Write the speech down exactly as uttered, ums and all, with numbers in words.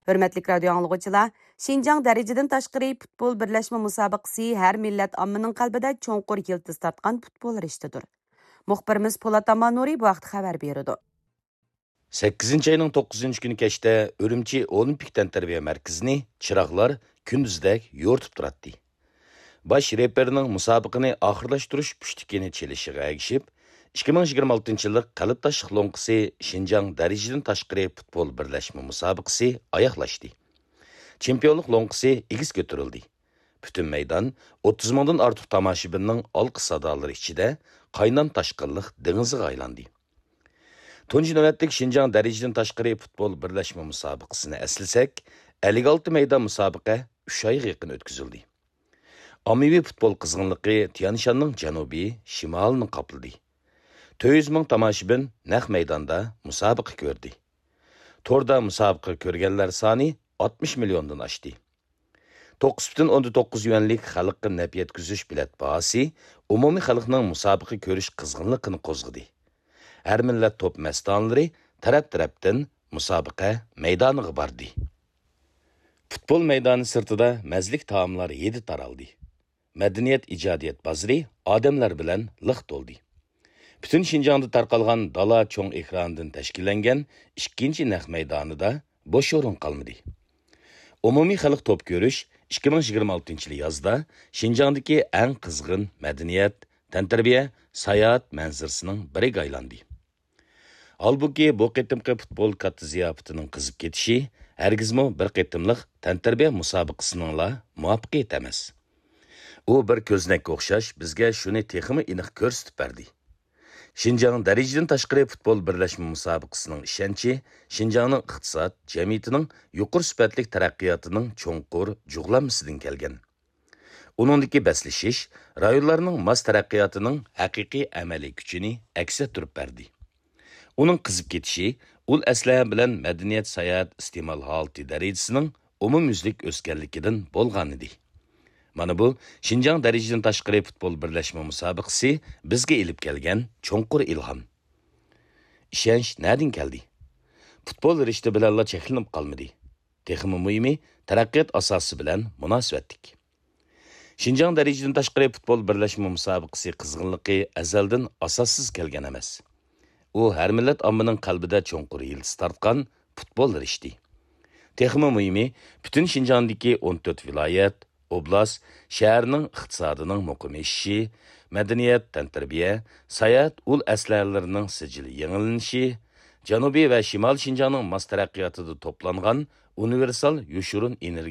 ھۆرمەتلىك رادىيو ئاڭلىغۇچىلار، شىنجاڭ دەرىجىدىن تاشقىرى پۇتبول بىرلەشمە مۇسابىقىسى ھەر مىللەت ئاممىنىڭ قەلبىدە چوڭقۇر يىلتىز تارتقان پۇتبول رىشتىدۇر. مۇخبىرىمىز پولات ئاماننۇرى بۇ ھەقتە خەۋەر بېرىدۇ. سەككىزىنچى ئاينىڭ توققۇزىنچى كۈنى كەچتە ئۈرۈمچى ئولىمپىك تەنتەربىيە مەركىزىنى چىراغلار كۈندۈزدەك يورۇتۇپ تۇراتتى. باش رېپېرنىڭ مۇسابىقىنى ئاخىرلاشتۇرۇش پۇشتىكىنى چېلىشىغا ئەگىشىپ، ئىككى مىڭ يىگىرمە ئالتىنچى يىللىق قەلبداشلىق لوڭقىسى شىنجاڭ دەرىجىدىن تاشقىرى پۇتبول بىرلەشمە مۇسابىقىسى ئاياغلاشتى. چېمپىيونلۇق لوڭقىسى ئېگىز كۆتۈرۈلدى. پۈتۈن مەيدان ئوتتۇز مىڭدىن ئارتۇق تاماشىبىننىڭ ئالقىش سادالىرى ئىچىدە قاينام تاشقىنلىق دېڭىزىغا ئايلاندى. تۇنجى نۆۋەتلىك شىنجاڭ دەرىجىدىن تاشقىرى پۇتبول بىرلەشمە مۇسابىقىسىنى ئەسلىسەك، ئەللىك ئالتە مەيدان مۇسابىقە ئۈچ ئايغا يېقىن ئۆتكۈزۈلدى. ئاممىۋى پۇتبول قىزغىنلىقى تيەنشاننىڭ جەنۇبى، شىمالىنى قاپلىدى. تۆت يۈز مىڭ تاماشىبىن نەق مەيداندا مۇسابىقە كۆردى. توردا مۇسابىقە كۆرگەنلەر سانى ئاتمىش مىليوندىن ئاشتى. توققۇز پۈتۈن ئوندىن توققۇز يۈەنلىك خەلققە نەپ يەتكۈزۈش بېلەت باھاسى ئومۇمىي خەلقنىڭ مۇسابىقە كۆرۈش قىزغىنلىقىنى قوزغىدى. ھەر مىللەت توپ مەستانىلىرى تەرەپ-تەرەپتىن مۇسابىقە مەيدانىغا باردى. پۇتبول مەيدانى سىرتىدا مەززىلىك تائاملار ھىدى تارالدى. مەدەنىيەت ئىجادىيەت بازىرى ئادەملەر بىلەن لىق تولدى. پۈتۈن شىنجاڭدا تارقالغان دالا چوڭ ئېكرانىدىن تەشكىللەنگەن ئىككىنچى نەق مەيدانىدا بوش ئورۇن قالمىدى. ئومۇمىي خەلق توپ كۆرۈش ئىككى مىڭ يىگىرمە ئالتىنچى يىلى يازدا شىنجاڭدىكى ئەڭ قىزغىن مەدەنىيەت، تەنتەربىيە، ساياھەت مەنزىرىسىنىڭ بىرىگە ئايلاندى. ھالبۇكى، بۇ قېتىمقى پۇتبول كاتتا زىياپىتىنىڭ قىزىپ كېتىشى ھەرگىزمۇ بىر قېتىملىق تەنتەربىيە مۇسابىقىسىنىڭلا مۇۋەپپەقىيىتى ئەمەس. ئۇ بىر كۆزنەككە ئوخشاش بىزگە شۇنى تېخىمۇ ئېنىق كۆرسىتىپ بەردى. شىنجاڭ دەرىجىدىن تاشقىرى پۇتبول بىرلەشمە مۇسابىقىسىنىڭ ئىشەنچى شىنجاڭنىڭ ئىقتىساد، جەمئىيىتىنىڭ يۇقىرى سۈپەتلىك تەرەققىياتىنىڭ چوڭقۇر جۇغلانمىسىدىن كەلگەن. ئۇنىڭدىكى بەسلىشىش رايونلارنىڭ ماس تەرەققىياتىنىڭ ھەقىقىي ئەمەلىي كۈچىنى ئەكس ئەتتۈرۈپ بەردى. ئۇنىڭ قىزىپ كېتىشى ئۇل ئەسلىھە بىلەن مەدەنىيەت ساياھەت ئىستېمال ھالىتى دەرىجىسىنىڭ ئومۇميۈزلۈك ئۆسكەنلىكىدىن بولغانىدى. مانا بۇ شىنجاڭ دەرىجىدىن تاشقىرى پۇتبول بىرلەشمە مۇسابىقىسى بىزگە ئېلىپ كەلگەن چوڭقۇر ئىلھام. ئىشەنچ نەدىن كەلدى؟ پۇتبول رىشتە بىلەنلا چەكلىنىپ قالمىدى. تېخىمۇ مۇھىمى، تەرەققىيات ئاساسى بىلەن مۇناسىۋەتلىك. شىنجاڭ دەرىجىدىن تاشقىرى پۇتبول بىرلەشمە مۇسابىقىسى قىزغىنلىقى ئەزەلدىن ئاساسسىز كەلگەن ئەمەس. ئۇ ھەر مىللەت ئاممىنىڭ قەلبىدە چوڭقۇر يىلتىز تارتقان پۇتبول رىشتى. تېخىمۇ مۇھىمى، پۈتۈن شىنجاڭدىكى ئون تۆت ۋىلايەت، ئوبلاست، شەھەرنىڭ ئىقتىسادىنىڭ مۇقىم ئېشىشى، مەدەنىيەت، تەنتەربىيە، ساياھەت ئۇل ئەسلىھەلىرىنىڭ سىجىل يېڭىلىنىشى، جەنۇبىي ۋە شىمالىي شىنجاڭنىڭ ماس تەرەققىياتىدا توپلانغان ئۇنىۋېرسال يوشۇرۇن ئېنېرگىيە